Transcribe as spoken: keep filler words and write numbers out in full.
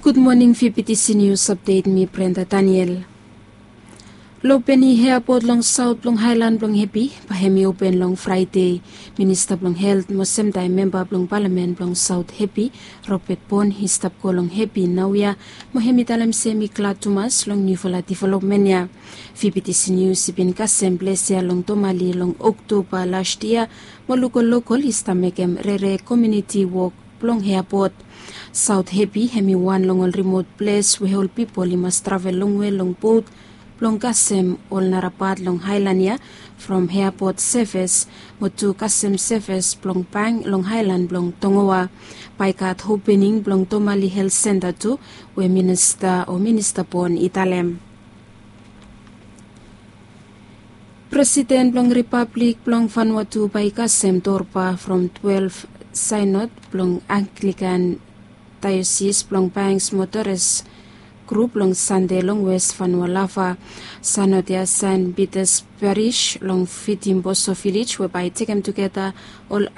Gud moning, fifiti sinius apdet, mi Brenda Daniel. Lobeni heapot long saot blong haelan blong Hepi bae hem i open long Fraede. Minista blong helt mo semtaem memba blong palamen blong Saot Hepi, Robet Bon, i stap go long Hepi naoia, mo hem i talem se hem i glad tumas long niufala developmen ya. Fifiti sinius i bin kasem ples ya long Tomali long Oktoba las yia, mo lokol lokol i stap mekem rere komiuniti wok blong heapot. Saot Hepi hem i wan long ol rimot ples we ol pipol i mas travel longwe long bot blong kasem ol nara pat long haelan ya, from heapot sevis mo tu kasem sevis blong bank long haelan blong Tongoa. Bae i gat opening blong Tomali helt senta tu, we minista o minista Bon i talem. Presiden blong Ripablik blong Vanuatu bae i kasem Dorpa from twelef saenod blong Anglikan daeosis blong Banks mo Torres grup long Sande long Wes Vanua Lava. Saenod ya Sen Pitas Paris long Fitimboso Vilej we bae i tekem tugeta ol